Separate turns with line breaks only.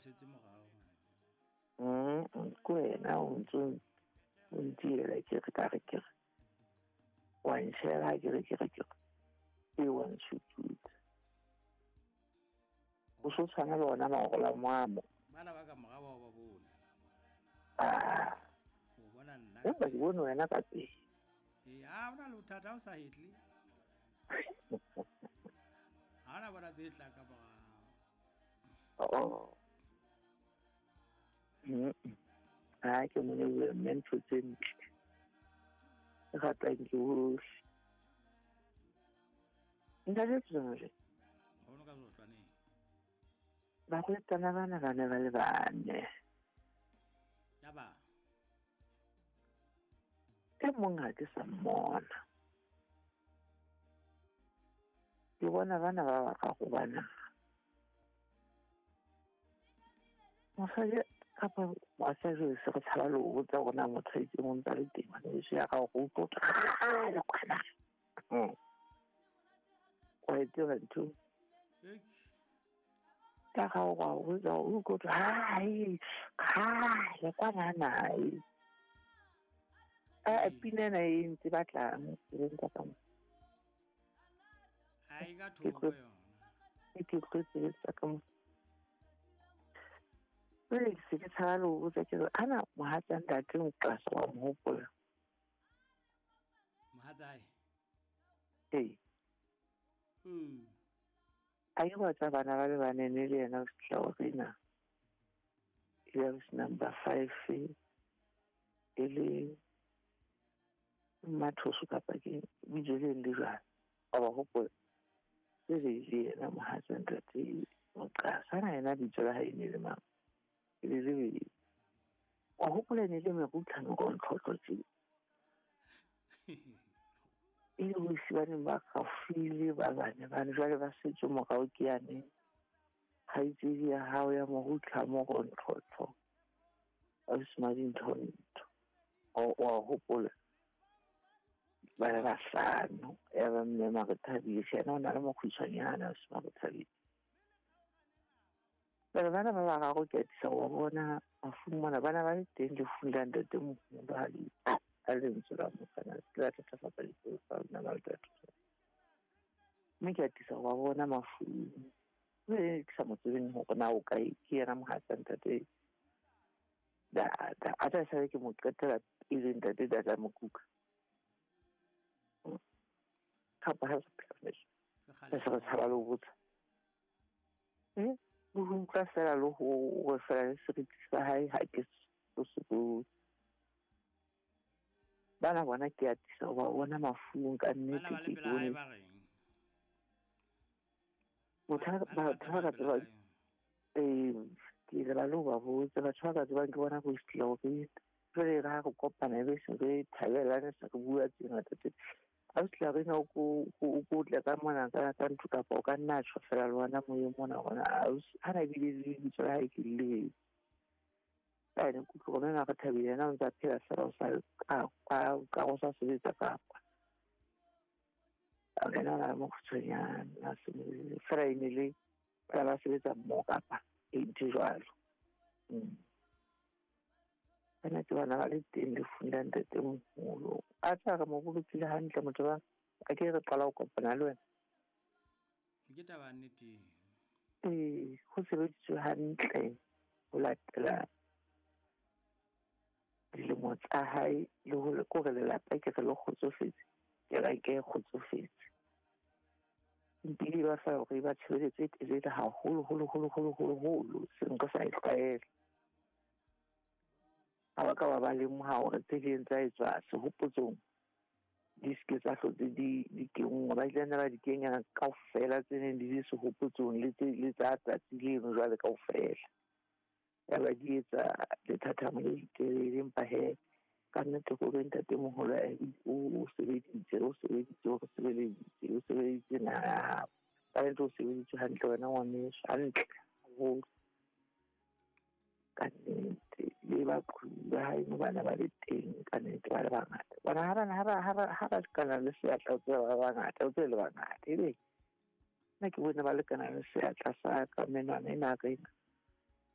setse morao.
Ke wena o ntse o ntiela ke re ka re ke re. Wa ntšhela ke re ke re ke re. E wa ntshututsa. O so tshwana le ona magola moamo.
Bana ba ka morao bao ba bone.
Ah.
O bona nna.
Empa ke bone wena ka pele.
Ee, ha ona le bothata ha o sa hetle. Ha ona bona tse tla ka morao.
Oh. Ha ke mo lebohe mme ntho tse ntle. E ratang ke hohle. Ntate Tsonole.
Ho no ka zotlwaneng.
Barwetsana bana ba ne ba le bane.
Ya ba.
E mong ha ke sa mmona. Ke bona bana ba bararo bana. Mosadi kapa mosadi se re tshaba le ho botsa hore na motho a itseng o ntse a le teng ngwaneso ya ka hore o tlo kgale kwana. Wa e tseba ntho? Ka ga o wa botsa o utlwe hai kgale kwana nae. A pina ena e ntse batlang tseleng ka mo.
Ha e ka thoko yona.
Ke tlo tsa ka mo. Jwale ke se ke tshaba le ho botsa ke re ana mohatsa ntate Moqasa wa mo hopola.
Mohatsae?
Ee. A ke batla bana ba le bane ne le yena o fihla ho rena. E le number 5 e le Mathoso kapa ke bitso le le jwang. Wa ba hopola. E le yena mohatsa ntate Moqasa na yena bitso la hae ne le mang? Le le wa hopola ne le merutlhano go ntlhotlo tse. E le bosi ba neng ba gafile ba bane bane jwale ba setse morao ke yane kgaitsedi ya hao ya morutlha mo go ntlhotlo ausi Madintho wa hopola ba le bahlano ya ba mme Marethabile yena o na le mokgutshwanyana ausi Marethabile. Bana bana ba bararo ke atisa ho bona mafung mona bana ba le teng lefung la ntate moholo ha lentswe la mofana se la thatafatsa dipelo tsa lona ba le thatafatsa. Mme ke atisa ho ba bona mafung. Mme ke sa mo tsebeng hore na o kae ke yena mohatsa ntate Dada. A tla sale ke mo qetela pele ntate Dada Mokuka. Kapa ha se phela. Se re tshaba le ho botsa. Le ho utlwa fela le ho fela le seriti sa hae ha ke so se botse. Bana bona ke atisa ho ba bona mafung ka nnete.
Bana ba le pela hae ba reng?
Motho ba ka tseba ke le ba le ho ba botsa batho ba ka tsebang ke bona go fihla hore jwale re ha re kopana ebe se re thabelane se re bua tse ngata tse. Ausi Larena o ko tle ka mona ka ntlo kapa o ka nna tjho fela le wena moyeng mona hore ausi ha na ebile le lebitso la hae ke le lebetse. Ka ene ke utlwe hore re thabile yena o ntse a phela fela o sa ka go sa sebetsa kapa. A kena na le mokgutshwanyana fela e ne le ba ba sebetsa mmoho kapa e ntho jwalo. Bana ke bana ba le teng lefung la ntate moholo. A tla re mo bolokile hantle motho ba a ke re qala ho kopana le wena.
Ke taba nnete.
Ee, ho sebeditswe hantle ho latela dilemo tsa hae le ho kore lelapa ke re le kgotsofetse. Ke re ke kgotsofetse. Mpile ba fa hore ba tshebeletso e telele haholo holo holo holo holo holo seng re sa e tlwaela. Ha ba ka ba ba lemoha hore tse ding tsa etswa sehopotsong di se ke tsa hlotse di kenngwa. Ba ile ba di kenya kaofela tse neng di le sehopotsong le tse le tsa tsatsi leno jwale kaofela. Ya ba di etsa lethathamo le letelele empa he ka nnete hore ntate moholo o sebeditse o re sebeditse o sebeleditse naha. Ka nnete o sebeditse hantle wena ngwaneso hantle haholo. Ka nnete le baqhubi ba hae bana ba le teng ka nnete ba le bangata. Bona ha bana ha ba lekana le seatla o tseba ba bangata o tsebe le bangata ebe nna ke bone ba lekana le seatla sa ka menwana ena rena.